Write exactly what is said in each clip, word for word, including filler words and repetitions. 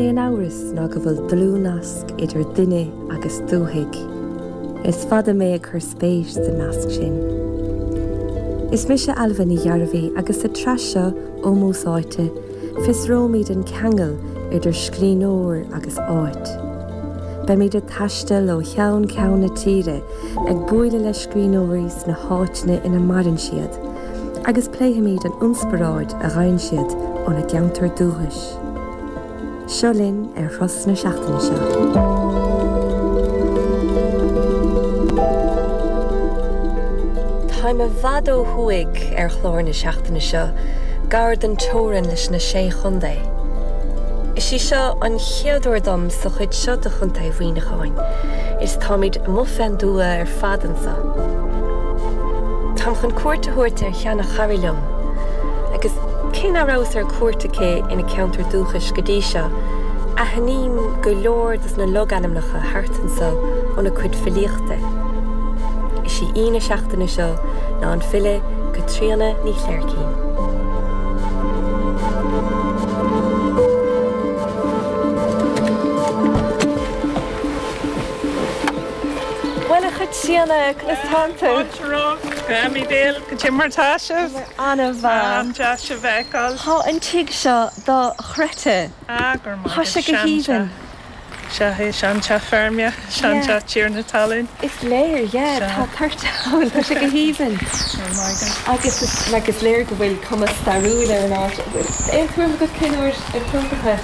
aon amhras ná go bhfuil dlúthnasc idir duine agus dúthaigh. Is fada mé ag cur spéis sa nasc sin. Is mise Ailbhe Ní Ghearbhuigh agus sa tsraith seo Ómós Áite, fiosróimid an ceangal idir scríbhneoir agus áit. Beimid ag taisteal ó cheann ceann na tíre ag bualadh le scríbhneoirí sna háiteanna ina maireann siad, agus pléifimid an inspioráid a fhaigheann siad óna gceantar dúchais. Seo linn ar thuras na seachtaine seo. Táim i bhfad ó thuaidh ar chlár na seachtaine seo, gar don teorainn leis na Sé Chontae. Is í seo an chéad uair dom sa chuid seo de Chontae Mhuineacháin, is táimid amuigh fén dtuath ar fad anseo. Táim chun cuairt a thabhairt ar sheana-chara liom, agus cé nach rabhas ar cuairt aici ina ceantar dúchais go dtí seo, aithním go leor dos na logainmneacha thart anseo óna cuid filíochta. Is í aoi na seachtaine seo ná an file Caitríona Ní Chléirchín. Bhuel, a Chaitríona, conas tánn tú? Fáilte romhat, go Emyvale, goidé mar tá sibh? An-mhaith. An-deas sibh a fheiceáil. Tá an tigh seo dochreidte. Ah, go raibh maith Tá agat. sé go haoibhinn. Sea, é seanteach feirme, seanteach tiarna talún. Is léir, yeah, tá toirt ann, tá sé go haoibhinn. Go raibh maith agat. Agus is, like, is léir go bhfuil cuma stairiúil ar an áit. Aon tuairim agat cén uair a tógadh é?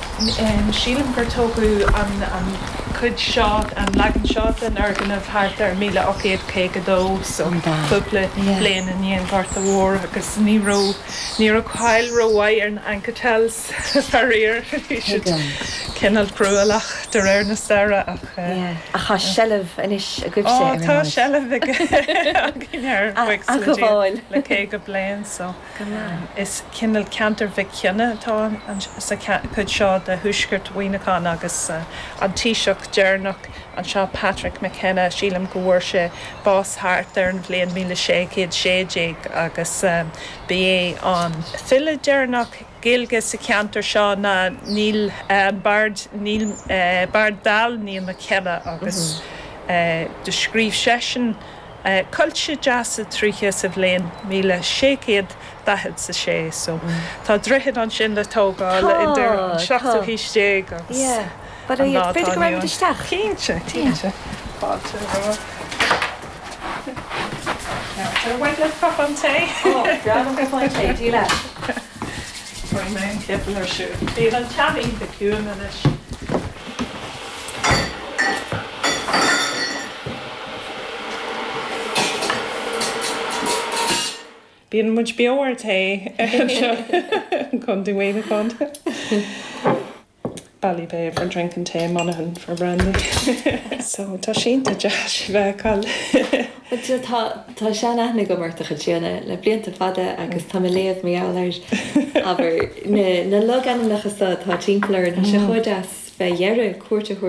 Sílim gur tógadh an, an cuid seo, an leagan seo den fhoirgneamh thart ar míle ocht gcéad caoga dó, so cúpla bliain i ndiaidh an Ghorta Mhóir agus ní raibh, ní raibh cáil rómhaith ar na Anketells, faraor, bhí siad cineál cruálach de réir na staire ach. Ach tá seilbh anois agaibhse Ó ar an tá áit. seilbh againn air, buíochas A le Dia, ghabháil. le caoga bliain so Go maith. is cineál ceantar Mhic Cionnaith atá sa chuid seo de thuaisceart Mhuineacháin agus an taoiseach deireanach anseo Patrick McKenna, sílim go bhfuair sé bás thart ar an bhliain míle sé chéad sé déag agus ba é an file deireanach Gaeilge sa cheantar seo ná Neil an Bard Neil Bard Dall Neil McKenna agus do scríobh seisean Coillte Deasa Tríche sa bhliain míle sé chéad daichead 's a sé so tá droichead ansin le tógáil idir an seachtú haois déag agus an lá atá B'fhéidir go inniu raghaimid ann. isteach. Cinnte, cinnte. Fáilte romhat. Ar mhaith leat cupán tae? Ó, breá liom cupán tae, Dia leat. Cuirfidh mé an citeal ar siúl. Bíonn an teach iontach ciúin anois. Bíonn muid beo ar rté anseo i gContae Mhuineacháin. Ballybay for drinking tea, Monaghan for brandy. So tá sé iontach deas sibh a fheiceáil. Bhuel tá tá sean-aithne agam ort a Chaitríona le blianta fada agus tá mé ag léamh mar gheall air abair na na logainmneacha seo atá timpeall orainn. Tá sé chomh deas bheith dheireadh cuairt a thabhairt